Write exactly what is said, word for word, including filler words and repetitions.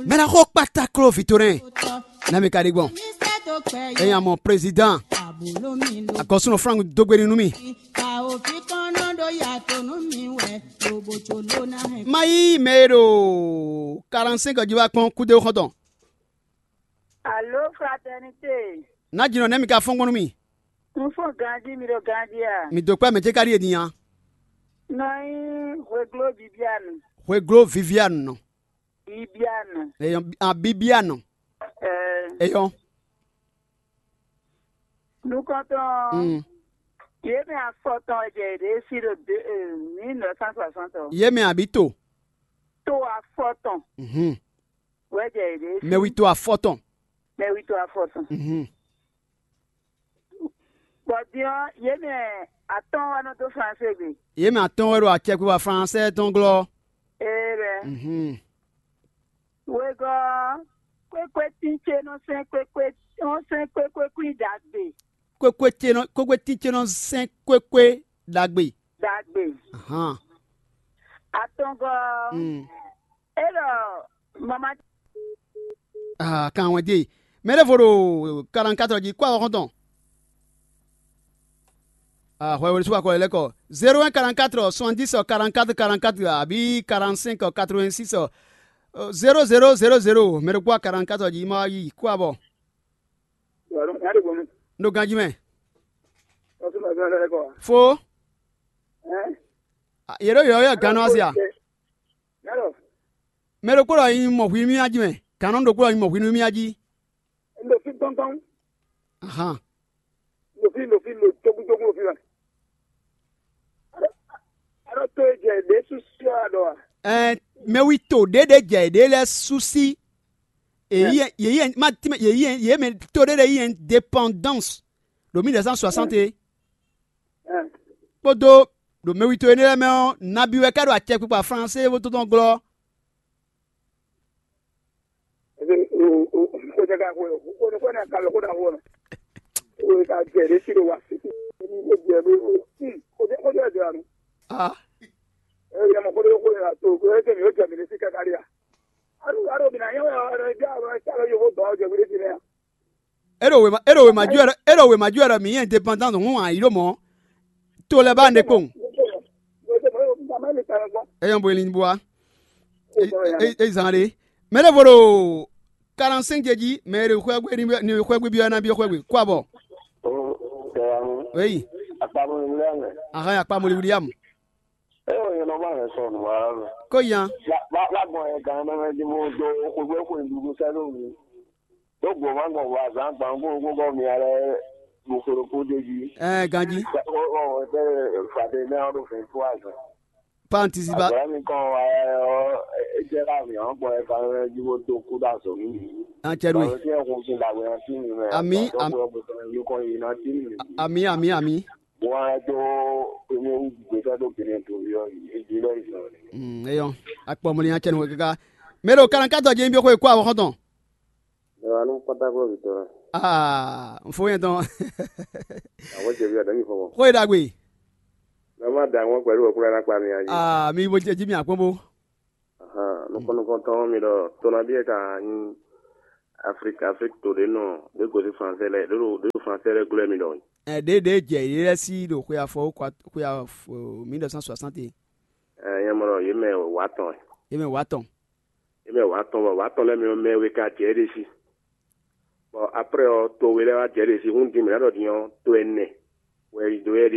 Mɛ ná xo kpátákló vǐ towe nɛ́. Ná mi ka ɖi gbɔn. Ényí a mɔ prezidán, agɔ̌súnɔ Frank dó gbe ní nú mì. Má yí mɛ e ɖo quarante-cinq jí wá kpɔ́n kúdéwú xɔ́ntɔn. Alo, fraternité. Ná jinɔ nɛ́ mi ka fɔ́n gbɔn nú mì. Un fɔ́n ganjí, mi ɖo ganjí a? Mi dó kpɛ́ mɛ ce ka ɖíe din a? Nɔ nyí Hweglo Bibianu. Hweglo Vivianu nɔ. Bibianu. Eyɔn a Bibianu. Ɛɛ. Eyɔn. Nukɔntɔn. Mm. Yě mɛ afɔtɔn wɛ jɛ yě ɖe sí ɖo de mille neuf cent soixante. Yě mɛ àbí to? To afɔtɔn. Mhm. Wɛ jɛ yě ɖe sí. Mɛ wi to afɔtɔn. Mɛ wi to afɔtɔn. Mhm. Bɔ din ɔ́, yě mɛ atɔ́ɔ́n wɛ nɔ dó Fransée gbe. Yě mɛ atɔ́ɔ́n wɛ ɖo acɛkpikpa Fransée tɔn glɔ́. Ee bɛ. Mhm. Wegɔ́ ɔ́, kwékwé tín ce nɔ sɛn kwékwé nɔ sɛn kwékwé kwín ɖagbe. Kwékwé ce nɔ kwékwé tín ce nɔ sɛn kwékwé ɖagbe. Ɖagbe. Ahan. Atɔngɔ́ ɔ́, Mm. é ɖɔ mama Ah, kan wɛn dé. Mɛ ɖěvo ɖo quarante-quatre jí kó awɔ xɔ́ntɔn. Ah, hwɛ wɛ sú akɔ lɛ́ kɔ. Zéro un quarante-quatre soixante-dix quarante-quatre quarante-quatre àbí quarante-cinq quatre-vingt-six zéro zéro zéro zéro. Mɛ ɖokpó quarante-quatre jí ma yi kó abɔ. Nya ɖe gbɔn mi. Ɖo ganjí mɛ. Ɔsùn mɛ fɛn lɛ kɔ. Fo. Ɛn. Ah, yě ɖo yɔ̌yɔ́ gannú asi a? Yálò. Mɛ ɖokpó ɖɔ nyi mɔ hwi nú mì jí mɛ. Gannú ɖokpó ɖɔ nyi mɔ hwi nú mì jí. N ɖo fí gbɔngbɔn. Ahan. N ɖo fí, n ɖo fí, n ɖo jógúnjógún ɖo fí wɛ. Aɖɔ to e jɛ ɖě súsú ɔ́ aɖɔ a? Ɛɛ, mɛwi to ɖě ɖě jɛ ɖě lɛ́ɛ súsí. Èyí yě yí ma tí yě yí yě mɛ to ɖé ɖé yí indépendance ɖo mille neuf cent soixante é. Kpódó ɖo mɛwi to énɛ́ lɛ́ɛ mɛ ɔ́, nabi wɛ ka ɖo acɛkpikpa Fransée bó tɔn glɔ́. Xwé ɖaxó ɔ́, xwé xwé ná ka lɔ xó ɖaxó ɔ́. Xwé ka jɛ ɖě sí ɖo wa sí. Xwé jɛ ɖó xwé jɛ jɛ anu. Ah. Ɛ yɛ mɔ xwé ɖó xwé ɖo to xwé ɛ jɛ mi ó jɛ mi ɖé sí káká ɖé a. Anu alo mi ná nyɛ wɛ ɔ ɛ jɛ alo ɛ jɛ alo yókó dɔn ɔ jɛ mi ɖé sí nɛ a. Eɖo wema eɖo wema ju wɛ ɖɔ eɖo wema ju wɛ ɖɔ mǐ nyí indépendant hǔn ǎ yi ɖo mɔ̌. To lɛ́ ba ne kpowun. Eyɔn bo elin bo wa. E zan ɖe. Mɛ ɖe vo ɖo quarante-cinq jɛ jí, mɛ e ɖo xwɛgbe ni xwɛgbe byɔ́ ná byɔ́ xwɛgbe kó abɔ. Eyi. Ahan ya kpa moli William. Eyo yẹn nɔ ba hɛn sɔnu wa. Kó yan. Ba ba gbɔn yẹn gan nɔ mɛ di mo do xwegbe xwe ndudu sɛ do mi. Ɖó gbɔn ma gbɔn vɔ azǎn gbàngbó ɖokpó bɔ mi alɛ ɖo xwe ɖokpó d'é jí. Ɛɛ ganjí. Ɔ ɔ ɔ fàdé mɛ ɔ́ ɖo fɛn fún azɔn. Pantisiba. Azɔn mi kàn wá ɔ é jẹ́ ká mi ɔ́ gbɔn ẹ kan jí bó tó kú dó azɔn mi. An cɛ ɖo Bàbá tí ẹ kún sí dàgbé ẹ tí mi mɛ. Àmì, Bàbá àmì. Tó kú ẹ kún sí ẹ kún yìí náà tí mi. Àmì àmì àmì. Wọ́n á tó èmi ń gbèsè tó bìnrin tó yọ èyí lẹ́yìn náà. Mm, eyɔn. Akpɔ mɔni an cɛ nu kaka. Mɛ ɖo quarante-quatre jɛ nyi bi xwe kó awɔ xɔntɔn. Aa, n fo yɛn tɔn. Àwọn jẹ̀bi àdáni fọwọ́. Xó e ɖagbe. Mɛ má da àwọn pẹ̀lú ọ̀kúra lápá mi ayé. Aa, mi bo jẹ jí mi àkpọ́n bó. Nukɔn nukɔntɔn mi ɖɔ tɔnabí ɛ ka nyi Afrique Afrique to ɖe nɔ ɖe gosí français lɛ ɖe ɖo ɖe ɖo français lɛ glɔɛ mi ɖɔ. Ɛ ɖe ɖe jɛ yě lɛ sí ɖo xwe afɔ xwe afɔ mille neuf cent soixante. Ɛ nyɛ mɔ ɖɔ yě mɛ wà tɔn. Yě mɛ wà tɔn. Yě mɛ wà tɔn bɔ wà tɔn lɛ mi mɛ we ka jɛ ɖe sí. Bɔ après ɔ to we lɛ wá jɛ ɖe sí hún dín mɛ ɖɔ dín ɔ to ɛnɛ wɛ yi do yɛ